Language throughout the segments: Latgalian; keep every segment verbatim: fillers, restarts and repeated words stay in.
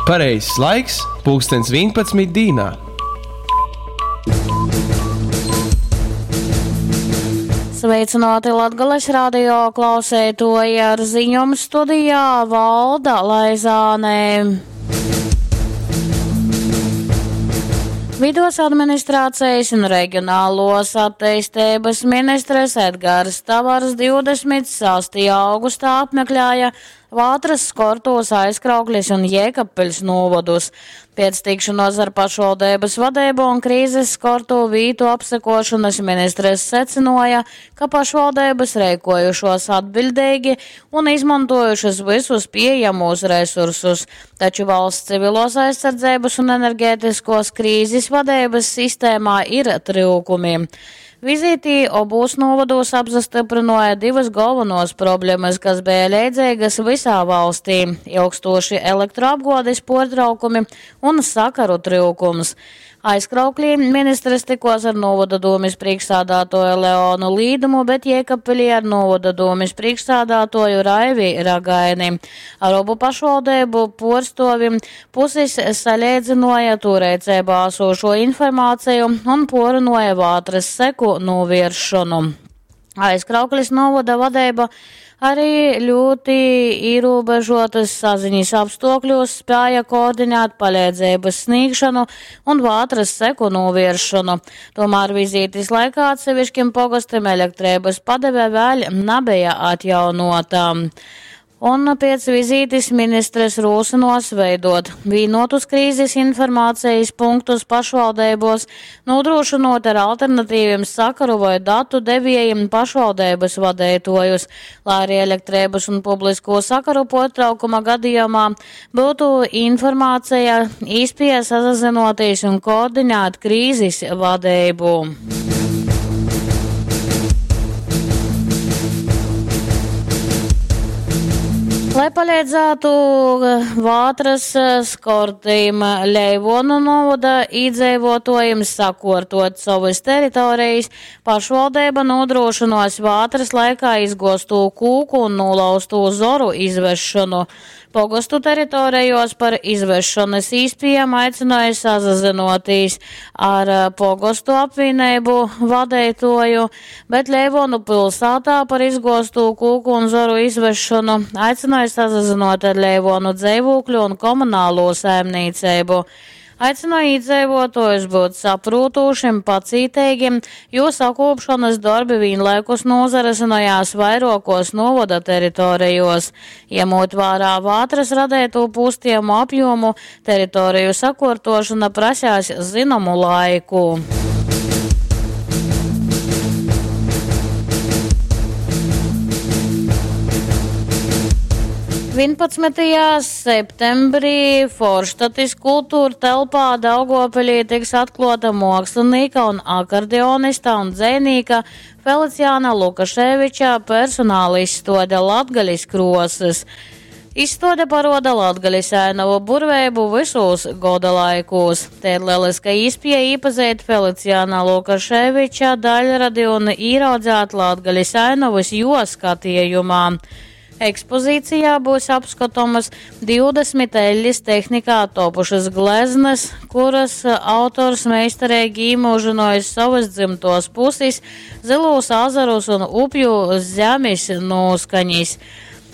Pareizais laiks – pulkstens vienpadsmit dīnā. Sveicināti Latgales radio klausētoji ar ziņom studijā Valda Laizāne. Vidos administrācijas un reģionālos attīstības ministres Edgars Tavars divdesmit sastajā augustā apmeklēja Vātras, Skortos, Aizkrauklis un Jēkabpils novadus. Pēc tikšanos ar pašvaldības vadību un krīzes skorto vītu apsekošanas ministres secināja, ka pašvaldības rēkojušos atbildīgi un izmantojušas visus pieejamos resursus. Taču valsts civilos aizsardzības un enerģētiskos krīzes vadības sistēmā ir trūkumi. Vizītī obūs novados apzastiprināja divas galvenos problēmas, kas bija leidzīgas visā valstī – ilgstoši elektroapgādes portraukumi un sakaru trūkums. Aizkrauklī ministres tikos ar novada domes priekšsādātoju Leonu Līdumu, bet Jēkabpilī ar novada domes priekšsādātoju Raivi Ragaini. Ar obu pašvaldību porstovim puses saļēdzinoja tūreicībā esošo informāciju un porunāja vātras seku novēršanu. Aizkrauklis novada vadība arī ļoti ierobežotas saziņas apstākļos spēja koordinēt palīdzības sniegšanu un vātras seku novēršanu. Tomēr vizītes laikā atsevišķim pogastiem elektrības padeve vēl nebija atjaunota. Un pēc vizītes ministres rūsinos veidot vienotus krīzes informācijas punktus pašvaldībos, nodrošinot ar alternatīviem sakaru vai datu devējiem pašvaldības vadētojus, lai arī elektrības un publisko sakaru potraukuma gadījumā būtu informācija īspēja sazinoties un koordinēt krīzes vadību. Lai palīdzētu vātras skortīm Leivonu novada iedzīvotājiem sakortot savas teritorijas, pašvaldība nodrošinos vātras laikā izgozto kūku un nolauzto zoru izvešanu. Pogostu teritorijos par izvešanas īspējām aicināja sazināties ar pogostu apvienību vadītoju, bet Leivonu pilsētā par izgozto kūku un zoru izvešanu aicināja sazinot ar Leivonu dzīvokļu un komunālo saimniecību. Aicināja iedzīvotājus būt saprūtošiem, pacītīgiem, jo sakopšanas darbi vienlaikus nozarasinājās vairākos novada teritorijos. Ņemot vērā vātras radēto pūstiemu apjomu, teritoriju sakortošana prasās zināmu laiku. vienpadsmitajā septembrī Forštatis kultūra telpā Daugavpilī tiks atklāta mākslinieka un akordionista un dzejnieka Feliciāna Lukaševiča personāla izstāde Latgales krosas. Izstāde paroda Latgales ainavu burvēbu visos goda laikos. Te ir lieliska iespēja iepazīt Feliciāna Lukaševiča daļradi un ieraudzēt Latgales ainavas jo skatījumā. Ekspozīcijā būs apskatāmas divdesmit eļļas tehnikā topušas gleznas, kuras autors meistarīgi iemūžinojis savas dzimtos puses, zilos azarus un upju zemes noskaņas.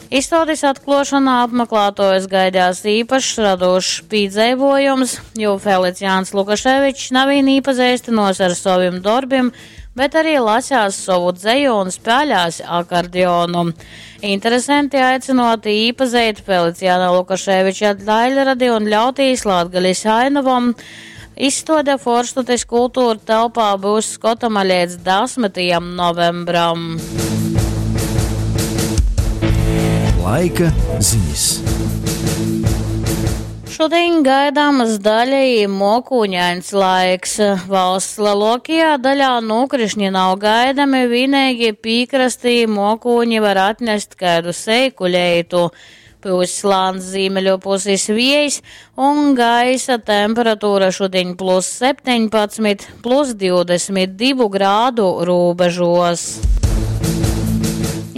Izstādes atklāšanā apmeklētājus gaidās īpašs radošs piedzīvojums, jo Feliciāns Lukaševičs nav vien iepazīstinos ar saviem darbiem, bet arī lasās savu dzeju un spēlēs akordeonu. Interesanti aicinoti iepazīt Feliciāna Lukaševiča daļradi un ļautīs Latgales ainavam. Izstāde Forštatis kultūra telpā būs skatama līdz desmitajam novembram. Laika ziņas. Šodien gaidāmas daļēji mokūņains laiks. Valsts lielākajā daļā nokrišņi nav gaidami, vienīgi piekrastī mokūņi var atnest kādu seiku leitu. Pūs slāns ziemeļu puses viejs un gaisa temperatūra šodien plus septiņpadsmit, plus divdesmit divu grādu robežos.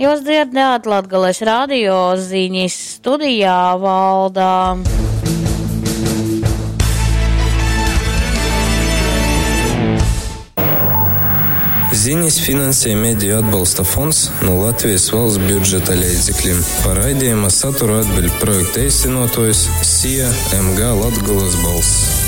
Jūs dzirdējāt Latgales radio ziņas studijā Valdā. Zinis finansej Mediju atbalsta fonds nu Latvijas valsts budžeta leidzeklim. Par raidejuma saturu atbiļd projekta eistynuotuojs SIA M G Latgolas balss.